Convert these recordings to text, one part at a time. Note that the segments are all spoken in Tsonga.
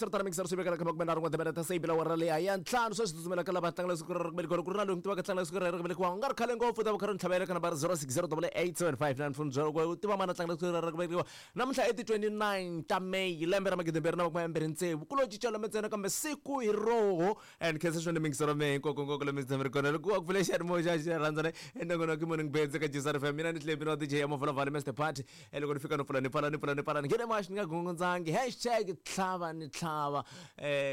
Hambiswiritano mixer swi vekela ka makume nharhu n'we timinete se yi bile awara leyi ya ntlhanu. Sweswi tsutsumela ka lava tlangela siku ra ku velekiwa. Ku ri na loyi tivaka tlangela siku ra ku velekiwa u nga ri khale ngopfu, ta va kha ri ntlhavela ka nambara 06088759 foni byela ku u tiva mani a tlangela siku ra ku velekiwa namuntlha i ti 29 ta May lembe ra 2026. Ku lo cinca lembe ntsena kambe siku hi roho. And khensa swinene mingiselo mehe hinkwako nkwako lomu tshame ri kona loko wa ku pfula xiyanimoya xa xi rhandza ne enongonoko morning beds eka Jisar FM. Mina ni Tlembi na DJ ya Mavula Mr Party. E loko ni fika no pfula ni pfala ni pfula ni pfala ni nghene maxi ni nga gongondzangi #tlhava ni tlhava.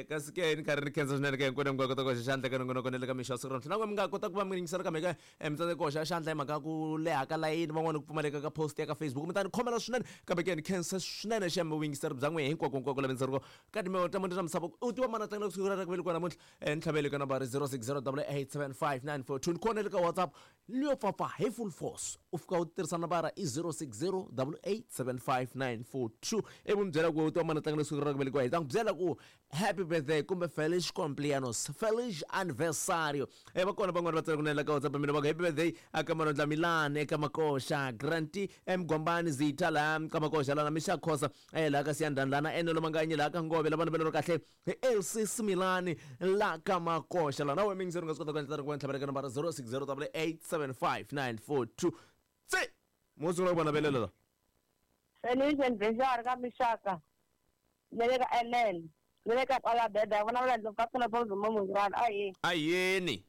Kasi ke ni karhi ni khensa swinene ka hinkwenu mi nga kota ku hoxa xandla eka nongonoko na le ka mixo ya siku ra namuntlha. Na n'we mi nga kota ku va mi yingisela kambe ka mi tsandzeka ku hoxa xandla hi mhaka ya ku leha ka layini, van'wani ku pfumaleka ka post ya ka Facebook, mi ta ni khomela swinene. Kambe ke ni khensa swinene xem vuyingiseri bya n'wehe hinkwako nkwako la mi ndzi ri ka timbewu ta mune ta misava. U tiva mani a tlangela siku ra ku velekiwa namuntlha? Ni tlhavele ka nambara 0608875942. Ni kona le ka WhatsApp leyo pfapfa hi full force, u fika u tirhisa nambara i 0608875942 ivi mi byela ku u tiva mani a tlangela siku ra ku velekiwa, hi ta n'wi byela ku happy birthday kumbe feliz cumpleaños, feliz aniversario. Va kona van'wani va tsala kunene la ka WhatsApp mina va ku happy birthday aka Manondla Milani eka Makoxa, Granti Mgwambani Zitha laha ka Makoxa, lana Misha Khosa laha ka Siyandhani, lana Enelo Manganyi laha ka Ngove, lava navelo kahle hi Elsie Similani la ka Makoxa. Lana we mingiseri u nga swi kota ku endla ku ntlhavela ka nambara 0608875942. Tse mo sungula ku va navelela la. Feliz aniversario ka Mixaka na le ka Ellen na le ka Palabeda vona va ndlovu ka pfuna pa mo munghana a hi a yini.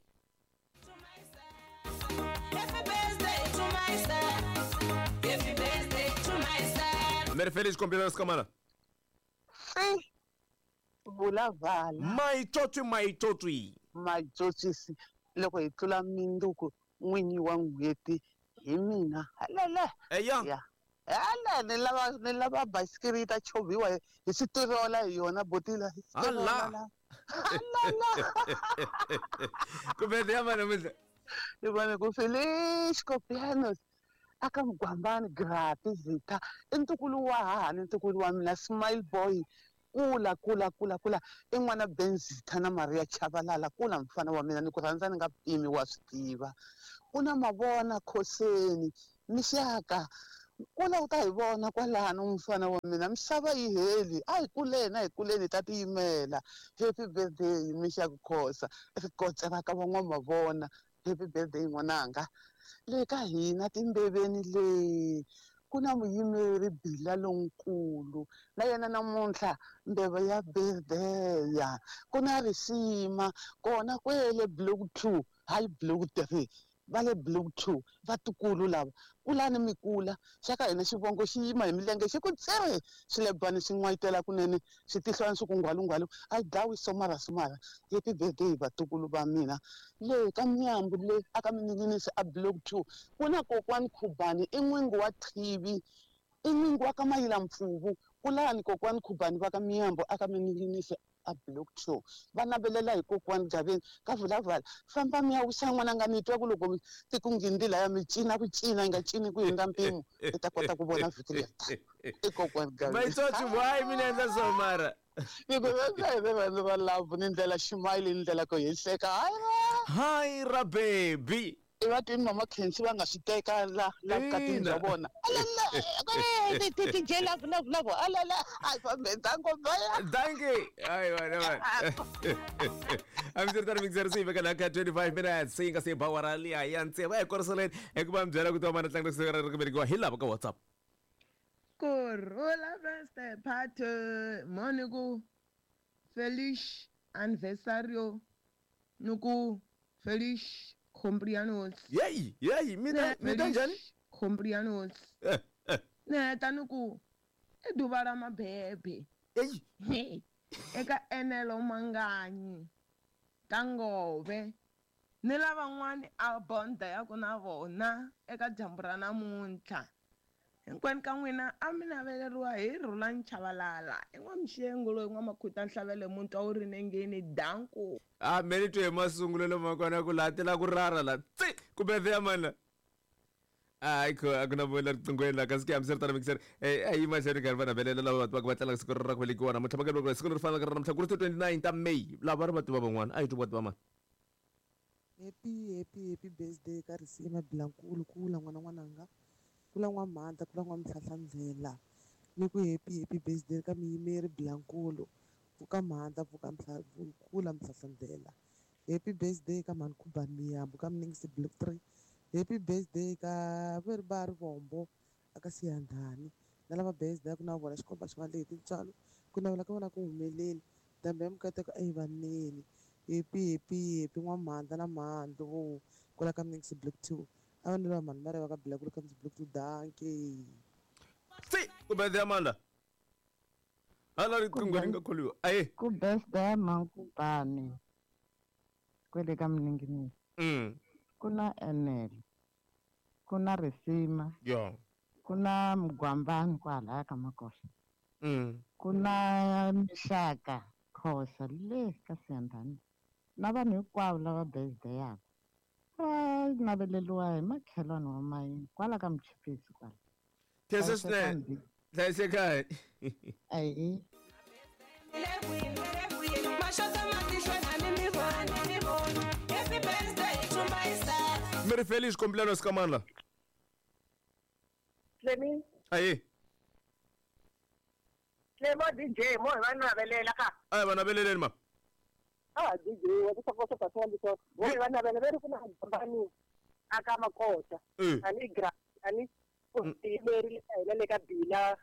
Mi ri Feliz cumpleaños kamana. Si vula vala. Maitsotsi maitsotsi. Maitsotsisi loko hi tlula minduku n'winyi wa n'hweti hi mina. Halala. Eya. Ya. Hala ni lava ni lava basikiri yi ta chovhiwa hi switirola hi yona botila. Hi switirola Hala. la. Halala. Ku birthday ya mani namuntlha? Ni vone ku Feliz cumpleaños aka Mugwambani Grapi Zitha i ntukulu wa hahani ntukulu wa mina Smile Boy kula kula kula kula i n'wana Ben Zitha na Maria Chabalala kula mfana wa mina ni ku rhandza ni nga pimi wa swi tiva ku na mavona khoseni mixaka kula u ta hi vona kwalano mfana wa mina misava yi heli a hi kuleni a hi kuleni hi ta tiyimela happy birthday mixaka khosa rikotse ra ka van'wamavona happy birthday n'wananga le ka hina timbeveni le ku na muyimeri Bila lonkulu na yena namuntlha mbeva ya birthday ku na risima kona kwele block 2 hayi block 3 va le block 2 vatukulu lava kulani mi kula xa ka hina xivongo xi yima hi milenge xi ku tsee swilebani swi n'wayitela kunene switihlwana swi ku ngwalungwalu a yi dlawi somara somara happy birthday vatukulu va mina le ka Mnyambu le aka Mininginisi a block 2 ku na kokwani Khubani i n'wingi wa Thivi i n'wingi wa ka Mayila Mpfuvu kulani kokwani Khubani va ka Mnyambu aka Mininginisi a block 2 va navelela hi kokwani Gaveni ka vulavala famba mi ya wisa n'wananga mi twa ku loko ti ku nghindi laya mi cina ku cina yi nga cini ku hundza mpimo i ta kota ku vona vhiki leri i kokwani Gaveni. Maitsotsi why mi ni endla so mara? Ni ku rhandza hi rirhandzu ra love ni ndlela ximayili ni ndlela ku hi hleka hayi ra. Hi ra baby. I va twini mama Khensi va nga swi teka la la vukatini bya vona. Alala DJ love love love alala a hi fambe danko baya. Dankie. Hayi wena wena. Hambiswiritano mixer se yi veka laha ka 25 minutes se yi nga se ba awara liya ya tsevu. A hi koriseleni hikuva mi byela ku tiva mani tlanga siku ra ku velekiwa hi lava ka WhatsApp. Kurhula best party moni ku Feliz aniversario ni ku Feliz cumpleaños. Yeyi yeyi mi ta njhani? Feliz cumpleaños. Ni heta ni ku i duva ra mabebe. Eyi. Eka Enelo Manganyi ka Ngove ni lavan'wani a bonda ya ku na vona eka dyambu ra namuntlha. Hinkwenu ka n'wina a mi naveleriwa hi Rhulani Chabalala i n'wamuxengo loyi n'wamakhuta nhlavele muntwa wu ri nengeni danko. A me ni twe hi masungulelo ma kona ku laha ti la ku rara la tsi ku birthday ya mani la. Hayi kho a ku na vona riqinghweni la kasi ke hambiswiritano mixer a yi mahlweni karhi va navelela lava va va tlangaka siku ra ku velekiwa namuntlha va ka siku leri fanelaka ra namuntlha ku ri ti 29 ta May lava ri va tiva van'wana a yi twi va tiva mani. Happy happy happy birthday ka Risima Bilankulu kula n'wana n'wananga kula n'wamhanda kula n'wamhlahlandlela ni ku happy happy birthday ka muyimeri Bilankulu. Pfuka mhandla pfuka kula mhlahlandlela. Happy birthday ka mhani Khubani Miyambo ka Mningisi Block 3. Happy birthday ka veri va Rivombo aka Siyandhani. Na lava birthday ku na vona xikomba xi va lehi tintswalo ku navela ka vona ku humeleli. Dambe ya mikateko a yi vaneni. Happy happy happy n'wamhandla na mhandlu kwala ka Mningisi Block 2. A va ni va mhani va ka Black ka Mningisi Block 2 dankie. Si ku birthday ya mani la? Hala riqingho ri nga kholiwa. Aye. Ku birthday ya Mankubani kwele ka Mninginisi. Ku na Enel, ku na Risima, ku na Mugwambani kwalaya ka Makosa. Ku na Mixaka Khosa le ka Siyandhani. Na vanhu hinkwavo lava birthday yaka va naveleriwa hi makhelwani wa mayini kwala ka Muchipisi kwala. Khensa swinene. Hlayisekani. Ayi. Mi ri Felice Complano ska mani la? Clemi. Aye. Clemo DJ mo hi va navelela ka. Ayi va naveleleni ma. Ah DJ wa ku soko soko soko. Mo hi va navelela veri ku na hambani aka Makosa. Ani gra ani ku leri le hina le ka Bila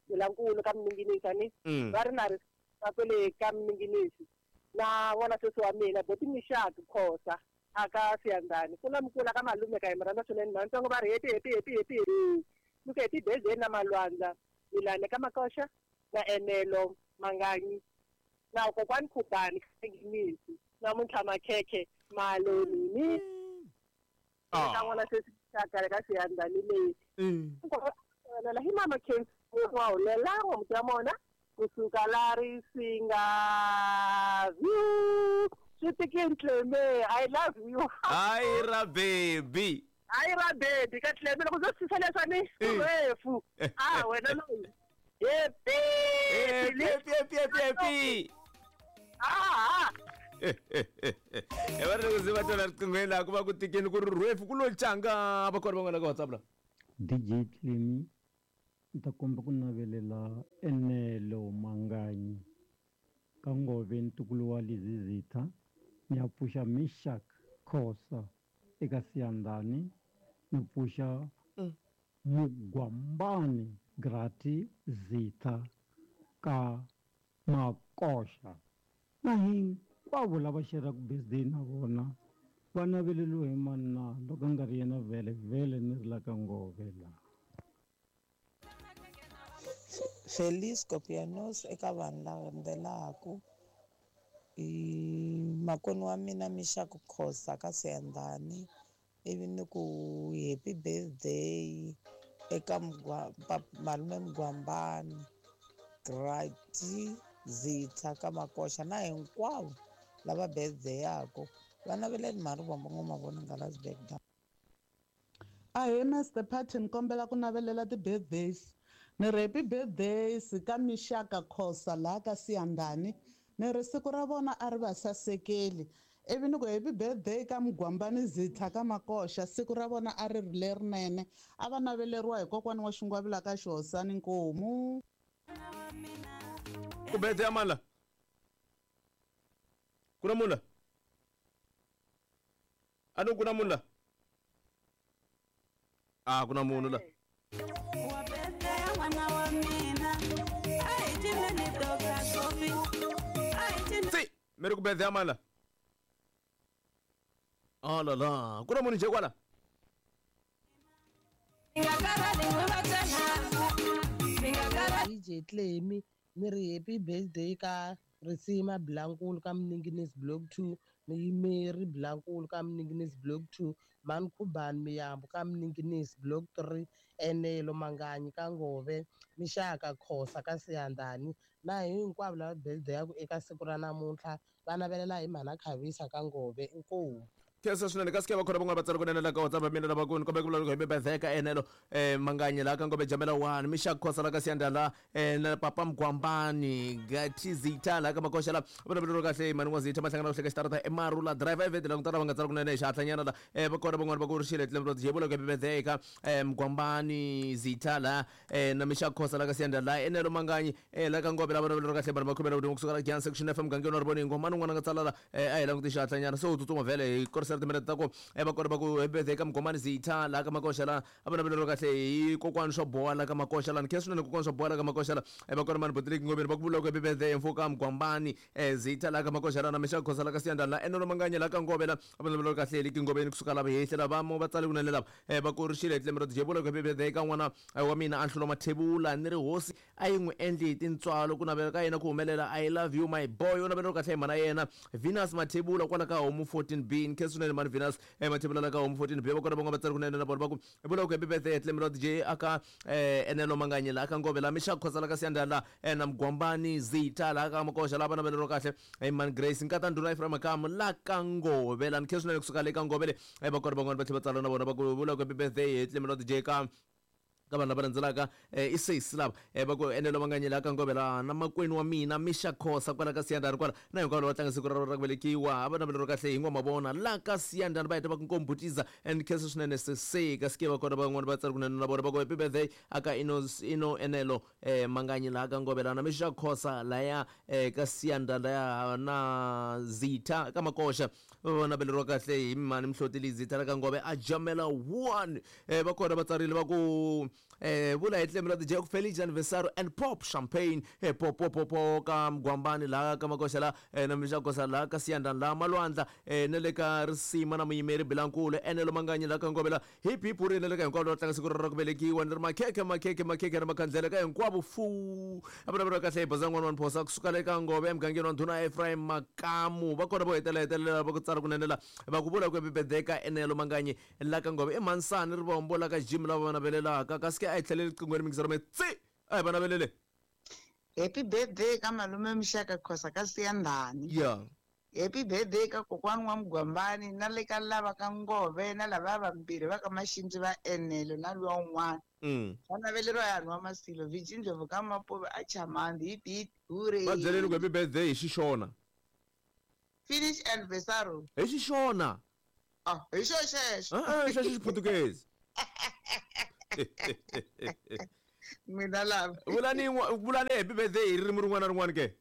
Bilankulu ka Mninginisi ani va ri na ri ka kwele ka Mninginisi. Na vona sweswi wa mina boti Mixaka Khosa aka Siyandhani. Ku na mukula ka malume ka hi mi rhandza swinene mantsongo va ri happy happy happy happy. Loko happy birthday na Malwandla Milane ka Makoxa na Enelo Manganyi na kokwani Khubani Mninginisi namuntlha makhekhe malonini. Ka n'wana sweswi Xaka ka Siyandhani leyi. Hi mama Khensi wa hulela n'wamuti wa mona kusuka la Risinga view. Swi tikini Cleme, I love you. Hayi ra baby. Hayi ra baby ka Cleme loko ndzo tshisa leswani refu. Ah wena loyi. Happy. Happy happy happy happy. Ah. E va ri loko se va twela riqinghweni laha ku va ku tikeni ku ri rhefu ku lo canga va kona van'wana ka WhatsApp la. DJ Clemi ni ta komba ku navelela Enelo Manganyi ka Ngove ntukulu wa Lizizitha ni ya pfuxa Mishak Khosa eka Siyandhani ni pfuxa Mugwambani Grati Zitha ka Makoxa na hinkwavo lava xeraka birthday na vona va naveleriwe hi manna loko a nga ri yena vhele vhele ni ri la ka Ngove la. Feliz Copianos eka vanhu lava landzelaku i makoni wa mina Mixaka Khosa ka Siyandhani ivi ni ku happy birthday eka malume Mugwambani Grati Zitha ka Makoxa na hinkwavo lava birthday yako va naveleni mhani Rivombo ngoma vona nga Lasberg Dam. Ahee Master Party ni kombela ku navelela ti-birthdays. Ni ri happy birthdays ka Mixaka Khosa laha ka Siyandhani. Ni ri siku ra vona a ri va sasekeli. Ivi ni ku happy birthday ka Mugwambani Zitha ka Makoxa siku ra vona a ri ri lerinene. A va naveleriwa hi kokwani wa Xingwavila ka Xihosani Nkomu. Ku birthday ya mani la? Ku na munhu la? A ni ku na munhu la? Ah ku na munhu la. Si mi ri ku birthday ya mani la? Oh la la, ku na munhu nje kwala? DJ Clemi ni ri happy birthday ka Risima Blankulu ka Mninginisi Block 2, Muyimeri Blankulu ka Mninginisi Block 2, Mhani Khubani Miyambo ka Mninginisi Block 3, Enelo Manganyi ka Ngove, Mixaka Khosa ka Siyandhani na hinkwavo lava birthday yaku eka siku ra namuntlha va navelela hi mhana Khavisa ka Ngove. Inkomu. Khensa swinene. Kasi ke va khona van'wana va tsala kunene la ka WhatsApp ya mina lava ku ni kombela ku vulavula hi birthday ka Enelo Manganyi laha ka Ngome Jamela 1, Mishak Khosa la ka Siyanda la na Papa Mgwambani Gatizita laha ka Makoxa la vulavulelo kahle mani n'wa Zitha mahlangana ku hleka xitarata eMarula driver evheti la ku tala va nga tsala kunene hi xihatlanyana la va kona van'wana va ku ri xile tlemro jebula ku birthday ka Mgwambani Zitha la na Mishak Khosa la ka Siyanda la Enelo Manganyi la ka Ngome la vulavulelo kahle mani makhumela vudimo kusuka la Giyani Section FM mugangeni wa Rivoningo mani un'wana a nga tsala la a hi languti xihatlanyana se u tsutsuma vhele hi korisela timinete ta ku va kona va ku happy birthday ka Mgomani Zitha laha ka Makoxa la a va naveleriwa kahle hi kokwani swo boha la ka Makoxa la ni khensa swinene kokwani swo boha la ka Makoxa la va kona mani Botiliki Ngomeni va ku vula ku happy birthday mfuka Mgwambani Zitha laha ka Makoxa la na Mishaka Khosa la ka Siyanda la Enolo Manganye la ka Ngove la a va naveleriwa kahle hi le Kingoveni kusuka lava hi hehlela va mo va tsale kunene lava va ku ri xile tlemero DJ vula ku happy birthday ka n'wana wa mina Anhlulo Mathebula ni ri hosi a yi n'wi endli hi tintswalo ku navela ka yena ku humelela. I love you my boy. U naveleriwa kahle hi mhana yena Venus Mathebula kwala ka Homu 14B. Ni khensa swinene mhani Venus Mathebula la ka Homu 14B. Va kona van'wana va tsari kunene na vona va ku vula ku happy birthday Tlemelo DJ aka Enelo Manganye la ka Ngove la Mishak Khosa la ka Siyanda la na Mgwambani Zita la ka Makoxa la va naveleriwa kahle hi mhani Grace Nkata Ndhuna Ephraim Makamu la ka Ngove la. Ni khensa swinene kusuka le ka Ngove le va kona van'wana va tlhela va tsala na vona va ku vula ku happy birthday Tlemelo DJ ka vanhu lava landzelaka i sesi lava va ku Enelo Manganyela ka Ngove la na makwenu wa mina Misha Khosa kwala ka Siyandhani kwala na hinkwavo lava tlanga siku ra ra ku velekiwa a va naveleriwa kahle hi ngoma vona la ka Siyandhani va heta va ku nkombutiza and khensa swinene sese kasi ke va kona van'wana va tsala kunene na vona va ku happy birthday aka ino ino Enelo Manganyi la ka Ngove la na Misha Khosa laya ka Siyandhani laya na Zitha ka Makoxa va naveleriwa kahle hi mhani Mhloti Lizitha la ka Ngove a jamela 1 va kona va tsarile va ku vula hi tlembe la DJ ku Feliz aniversario and pop champagne pop pop pop pop ka Mgwambani la ka Makoxa la na Misha Khosa la ka Siyandhani la Malwandla na le ka Risima na muyimeri Bilankulu Enelo Manganyi la ka Ngove la hip hip ri na le ka hinkwavo lava tlanga siku ra ku velekiwa ni ri makhekhe makhekhe makhekhe na makhandlele ka hinkwavo fu a vulavuriwa kahle hi baza n'wana wa Mphosa kusuka le ka Ngove emugangeni wa Ndhuna Ephraim Makamu va kona vo hetelela hetelela va ku tsala kunene la va ku vula ku happy birthday ka Enelo Manganyi la ka Ngove i Mhansani Rivombo la ka Jim lava va navelelaka kasi ke a hi tlheleli qinghweni mingisero me tsi a hi va navelele. Happy birthday ka malume Mixaka Khosa ka Siyandhani. Yeah. Happy birthday ka kokwani wa Mgwambani na le ka lava ka Ngove na lava vambirhi va ka Maxindzi va Enelo na luwa un'wana. Va naveleriwa hi hanhu wa Masilo Viji Ndlovu ka Mapuve a Chamandi hip hip hooray. Va byeleni ku happy birthday hi Xixona. Finish anniversary. Hi Xixona. Ah, hi xo xexo. Xexo Xiputukezi. Mina lava. Vulani vulani happy birthday hi ririmi rin'wana na rin'wana ke.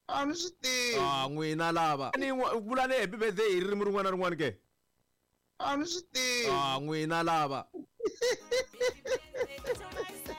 A ni swi tivi. Ah, n'wina lava. Ni vulani happy birthday hi ririmi rin'wana na rin'wana ke. A ni swi tivi. Ah, n'wina lava.